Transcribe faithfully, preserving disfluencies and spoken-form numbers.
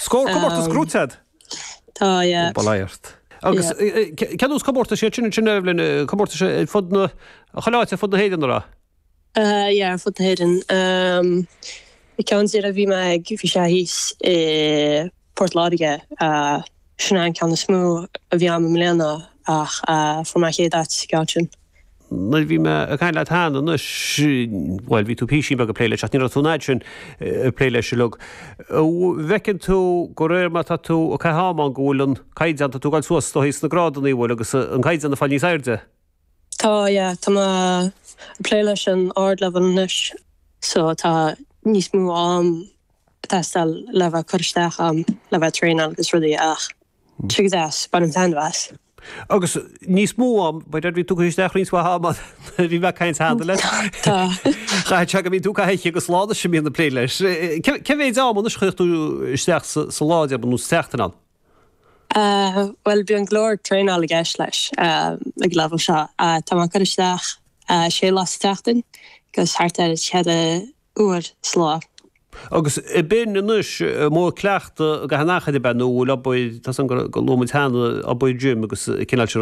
Scór comórtas gnóite a'd? Tá, yeah. Bail ort. Agus cén nós comórtais iad sin ansin Evelyn, comórtais ar fud na, chuile áit ar fud na hÉireann an raibh? Yeah, ar fud na hÉireann. An ceann deiridh a bhí mé ag, bhí sé thíos i Port Láirge, sin é an ceann is mó a bhí a'm i mbliana ach fuair mé an chéad áit sa gceann sin. Nuair a bhí mé ag caint leat cheana anois, bhuel, bhí tú písín beag ag plé leis ach ní raibh tú an fhad sin ag plé leis uilig. Bhfeiceann tú de réir mar tá tú ag caitheamh ama ann go bhfuil an caighdeán, tá tú ag dul suas is dóigh sna grádanna, bhfuil, agus an caighdeán ag fáil níos airde? Tá, yeah, tá mé ag plé leis an ardleibhéal anois so tá níos mó am ag teastáil le bheith ag cur isteach am, le bheith ag traenáil agus rudaí ach tá sé go deas, bainim taitneamh as. Agus níos mó am, b'fhéidir, bhí tú ag cur isteach roinnt mhaith ama nuair a bhí mé ag caint cheana leat. Tá. Chaithfeadh sé go mbíonn tú gach oíche agus lá anois a mbíonn ag plé leis. Cé mhéid ama anois a chuireann tú isteach sa lá, déarfainn, nó sa tseachtain ann? Bhuel, bíonn go leor traenáil i gceist leis ag an leibhéal seo. Tá mé ag cur isteach sé lá sa tseachtain agus thart ar cheithre uair sa lá. Agus b'in anois modh cleachtaidh i gcaitheamh an achair ab ea nó bhfuil obair, tá a fhios agam gur luaigh muid cheana, obair gym agus cineál sin.